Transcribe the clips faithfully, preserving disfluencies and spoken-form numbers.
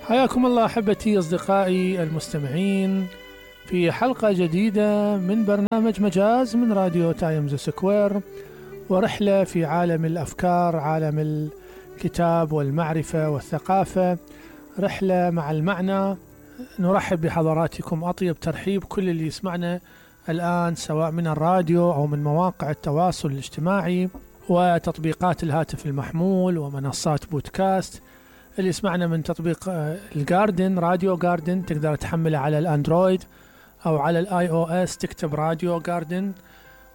حياكم الله أحبتي أصدقائي المستمعين في حلقة جديدة من برنامج مجاز من راديو تايمز سكوير، ورحلة في عالم الأفكار، عالم الكتاب والمعرفة والثقافة، رحلة مع المعنى. نرحب بحضراتكم أطيب ترحيب كل اللي يسمعنا الآن سواء من الراديو أو من مواقع التواصل الاجتماعي وتطبيقات الهاتف المحمول ومنصات بودكاست. اللي يسمعنا من تطبيق الجاردن، راديو جاردن، تقدر تحمله على الأندرويد أو على الآي أو إس، تكتب راديو جاردن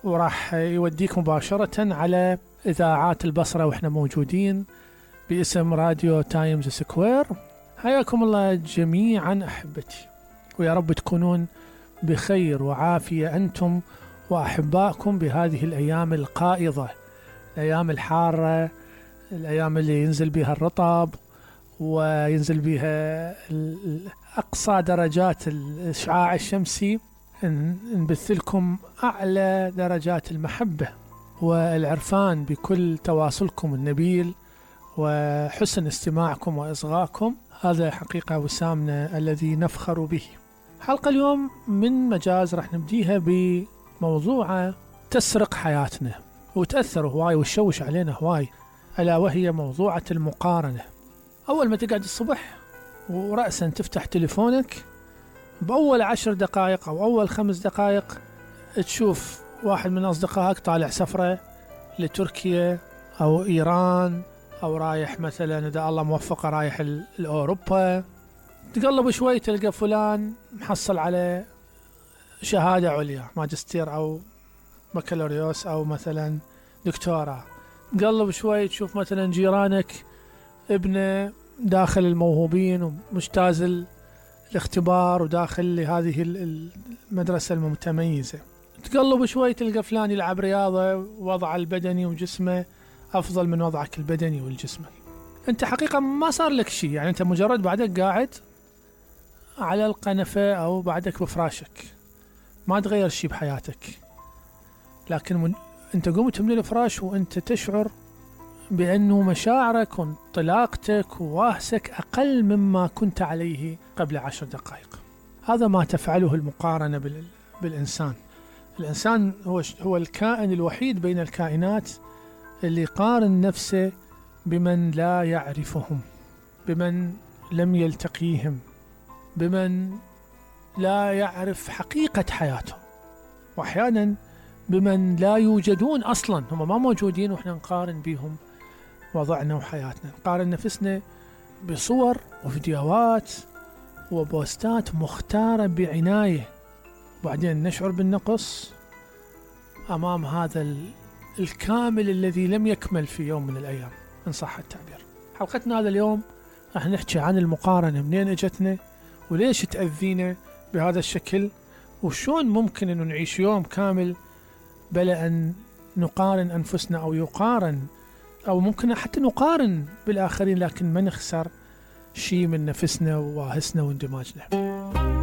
وراح يوديك مباشرة على إذاعات البصرة وإحنا موجودين باسم راديو تايمز سكوير. حياكم الله جميعا أحبتي، ويا رب تكونون بخير وعافية أنتم وأحبائكم بهذه الأيام القائضة، الأيام الحارة، الأيام اللي ينزل بها الرطب وينزل بها أقصى درجات الإشعاع الشمسي. نبث لكم أعلى درجات المحبة والعرفان بكل تواصلكم النبيل وحسن استماعكم وإصغائكم. هذا حقيقة وسامنا الذي نفخر به. حلقة اليوم من مجاز راح نبديها بموضوع تسرق حياتنا وتأثر هواي وتشوش علينا هواي، ألا وهي موضوعة المقارنة. أول ما تقعد الصبح ورأسا تفتح تليفونك، بأول عشر دقائق أو أول خمس دقائق تشوف واحد من أصدقائك طالع سفرة لتركيا أو إيران، أو رايح مثلا إذا الله موفقه رايح لأوروبا. تقلب شوي تلقى فلان محصل على شهادة عليا، ماجستير أو بكالوريوس أو مثلا دكتوراه. تقلب شوي تشوف مثلا جيرانك ابنه داخل الموهوبين ومجتاز الاختبار وداخل لهذه المدرسة المتميزة. تقلب شوي تلقى فلان يلعب رياضة، وضعه البدني وجسمه أفضل من وضعك البدني والجسمي. أنت حقيقة ما صار لك شيء، يعني أنت مجرد بعدك قاعد على القنفة أو بعدك بفراشك، ما تغير شيء بحياتك، لكن من أنت قمت من الفراش وأنت تشعر بأنه مشاعرك وانطلاقتك وواهسك أقل مما كنت عليه قبل عشر دقائق. هذا ما تفعله المقارنة بالإنسان. الإنسان هو هو الكائن الوحيد بين الكائنات اللي يقارن نفسه بمن لا يعرفهم، بمن لم يلتقيهم، بمن لا يعرف حقيقة حياتهم، وأحيانا بمن لا يوجدون أصلا، هم ما موجودين وإحنا نقارن بهم وضعنا وحياتنا. نقارن نفسنا بصور وفيديوهات وبوستات مختارة بعناية، وبعدين نشعر بالنقص أمام هذا الكامل الذي لم يكمل في يوم من الأيام إن صح التعبير. حلقتنا هذا اليوم راح نحكي عن المقارنة، منين اجتنا وليش تأذينا بهذا الشكل، وشون ممكن أن نعيش يوم كامل بلا أن نقارن أنفسنا أو يقارن، أو ممكن حتى نقارن بالآخرين لكن ما نخسر شيء من نفسنا وواهسنا واندماجنا.